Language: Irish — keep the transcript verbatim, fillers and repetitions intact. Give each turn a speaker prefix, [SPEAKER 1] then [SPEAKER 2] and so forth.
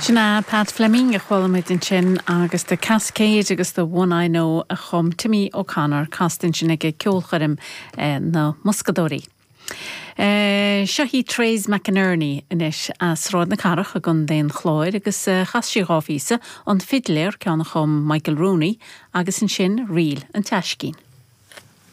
[SPEAKER 1] Sin é Pat Fleming a chuala muid ansin agus The Cascade agus The One I Know a chum Timmy O'Connor casta ansin ag ceolchoirm eh, na Muscadóirí. Uh, Seo í Trace McInerney anois as Sráid na Cathrach i gContae an Chláir agus uh, chas sí dhá phíosa an fidléir ceann a chum Michael Rooney agus ansin Ríl an Taiscín.